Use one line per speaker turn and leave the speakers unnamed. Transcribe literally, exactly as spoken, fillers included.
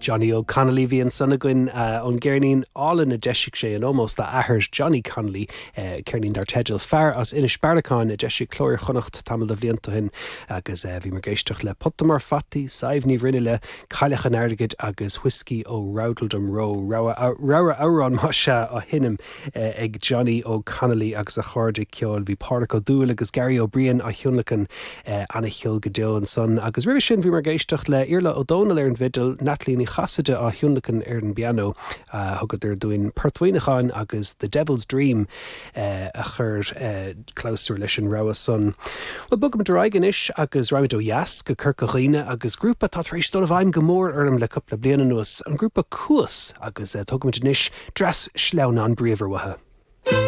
Johnny Óg Connolly bhí ansan againn ón gceirnín álainn a d'eisigh sé in ómós dá athair Johnny Connolly ceirnín dar teideal Fear as Inis Bearacáin a d'eisigh Cló Iar-Chonnacht tamall de bhlianta ó shin agus bhí muid ag éisteacht le Pota Mór Fataí, Sadhbh Ní Bhruinneile, Cailleach an Airgid agus Whiskey ó Roudledum Row rogha amhrán mar sin á sheinm ag Johnny Óg Connolly agus a chairde ceoil bhí Pádraig Ó Dúill agus Gary Ó Briain á thionlacan an-cheol go deo ansan agus roimhe sin bhí muid ag éisteacht le Iarla Ó Dónaill ar an bhfidil Natalie Ní Chasaide á thionlacan ar an bpianó thugadar dúinn Port Mhuineacháin agus The Devil's Dream a chur clabhsúr leis an rogha san. Well bogaimid ar aghaidh anois agus raghaimid ó dheas go Corca Dhuibhne agus grúpa atá tar éis dul i bhfeidhm go mór orm le cúpla bliain anuas an grúpa Cuas agus tugaimid anois dreas sleamhnán bríomhar uathu.